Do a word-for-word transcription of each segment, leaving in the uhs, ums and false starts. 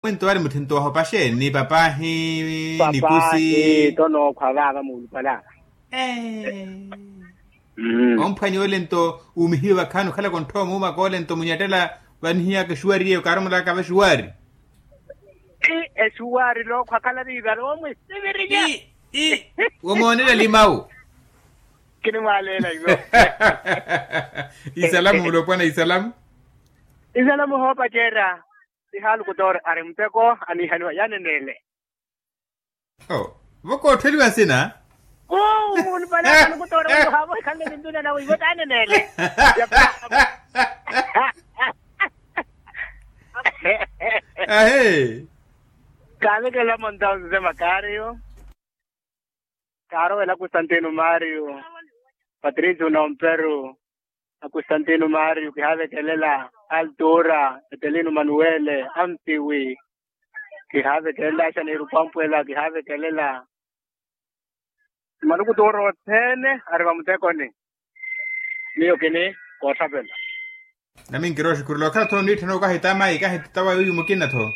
Mwinto wari mutthintto wahopaxe ni papahi ni kusi. Papahi to nookhwa vaava muulupalaka. Omphwanya ole nto uumihiwe vakhaani okhalaka ontthowa muumaka ole nto munyattela vanihiyaka exuwari eyo kaarumulaka vaxuwari. Exuwari nookhwa khala viivari omwisivirinya. Womoonela limawu. Kinimwaaleela iwo. Isalamu mulopwana isalamu. Isalamu hoopacerya. Siha lukutoori ari muteko aniihaniwa yaneneele. Vo koottheliwa nsina. Vo mulupanaka lukutoori vo haavo ikhanle nintuna nawe ivo taneneele. Ahe. Kaavekela monta onse makaariyo. Kaarowela kustantino mario, patricio nomperu, na kustantino mario kihaavekelela, altura, etelino manuwele, ampiwi, kihaavekelela axaneiru pampwela kihaavekelela. Malukutuuro othene ari vamutekoni. Miyo kini koothapela. Nami nkirooxi khurula okhala tho niitthana okahita mayi kahita tawa yuyu mukina tho.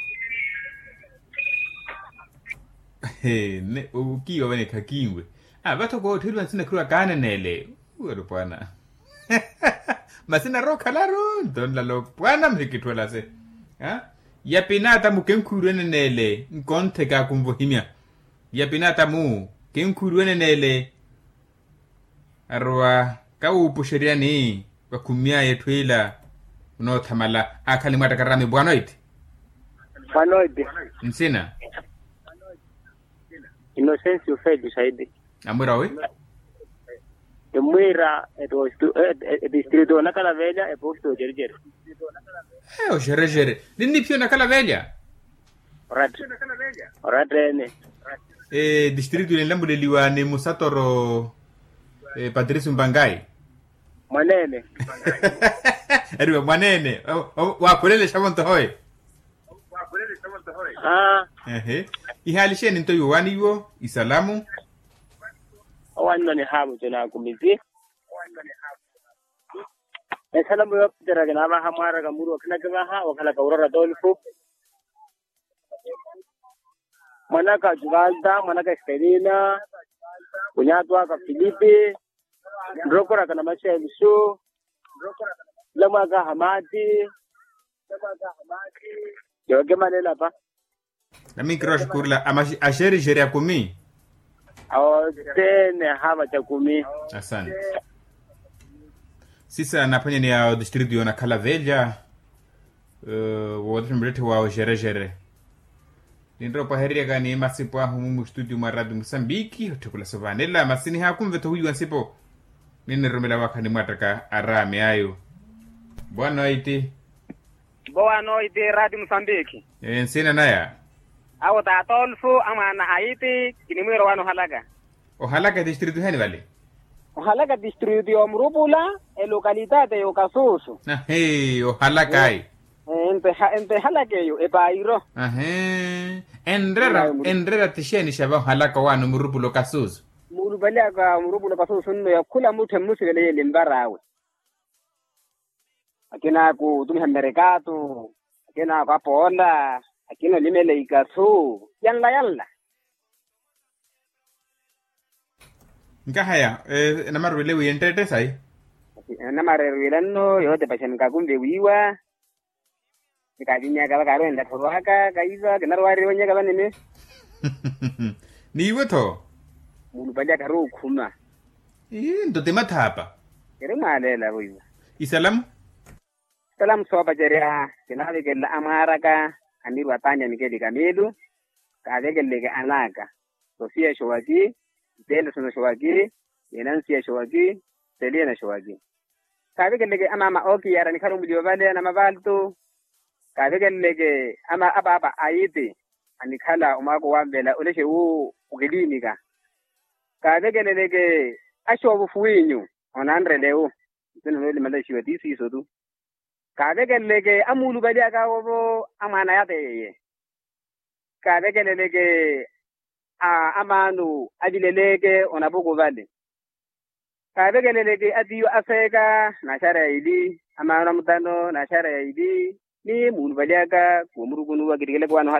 He ne okiiwa vene khakinwe. Vatho koottheliwa nsina khirwa kaaneneele. Uwe lopwana. Masina rookhalaru nto nla lopwana muhikitthuwelase. Yapinata mukenkhuwiru eneneele nkontheka kunvohimya. Yapinata mu kenkhuwiru eneneele. Arowa kawuupuxeryani vakhummy'aya etthu ila. Onoothamala aakhala nimwaattaka raami bwanoiti. Bwanoiti. Nsina. Inosensi ufeeti saidi. Amwira wi. Emwira. Etistritu onakhala velya eposto ocericeri. Ocericeri ninniphiya onakhala velya. Oratta oratta ene. Distritu ile enlamuleliwa ni musatoro. Patricio mpangai. Mwaneene. Eriwa mwaneene. Waakhulelexavo nto hoye. Ehe. Ihaali xeeni nto iwo waani iwo isalamu. Owanno nihaamuco naakumisi. Esalamu yoopitera kinaavaha mwaaraka muru okhinakivaha okhalaka urora tolfu. Mwanaka juvalta mwanaka estelina. Kunyaatu aka filipi. Nrokoraka na maxeluxu. Nlamwaka hamaati. Yookimanela pa. Nami nkirooxi khurula axerixeri akumi. Awothene ahaava ca kumi. Asante. Sisa naphwanyani ya otistritu yoonakhala velya. Wootetthe muletthe wa oxerexere. Ninrowa opwahereryaka ni masipo ahu mumu studio mwa radio musambiki otthekula sovaanela masi nihaakunve-tho wiiwa nsipo. Ninirumela waakha nimwaattaka araami ayo. Boa noite. Boa noite radio musambiki. Nsina naya. Awo t'atolfu amwaana a iti kinimwiira owaani ohalaka. Ohalaka etistritu heni vale? Ohalaka tistritu y'omurupula. Elokalitati y'okasusu. Ahi ohalaka ayi. Ente ehalaka eyo epairo. Ahi. Enrera ti xeeni xa vahalaka owaani omurupula okasusu? Muulupaliyaka omurupula okasusu nno ya khula mutthu emmusivele yeele nvar'awe. Akina akutumiha mmerekaatu. Akina akwapoola. Akina olimela ikasu. Yanla yanla. Nkahaya. Enamaru ile wiiya entteette sayi. Enamaru erwiila nno yootepaxa nkakunve wiiwa. Nikaavinyaka vakaari wenlathorwaka kaiva kinarowaari wonyaka vanene. N'iwe-tho. Muulupaliyaka ari okhuma. Ii nto ti mathaapa. Eri mwaaleela voiwa. Isalamu. Isalamu soopacerya kinaavekelela amwaaraka. Aniru ataani a mikeli kamiilu. Kaavekeleleke an'aka. Sosiya xowaki. Ntelesono xowaki. Yenansiya xowaki. Seliyana xowaki. Kaavekeleleke amaama ookiyara anikhala omuliwa vale anamavaaltu. Kaavekeleleke apaapa a iti anikhala omwaako wanvela olexe wu okiliinika. Kaavekeleleke axoovufu wiinyu onanrelewu. Nsina noolimalexiwa ti siiso-tu. Kaavekeleleke amuulupalyaka awo-vo amwaana yateyeye. Kaavekeleleke amaanu avileleke onapuku vale. Kaavekeleleke atiiyo aseeka n'axara ya ili amaanu amutano n'axara ya ili. Miyo munuvalyaka kuwo murukunuwa kittikeleke wano.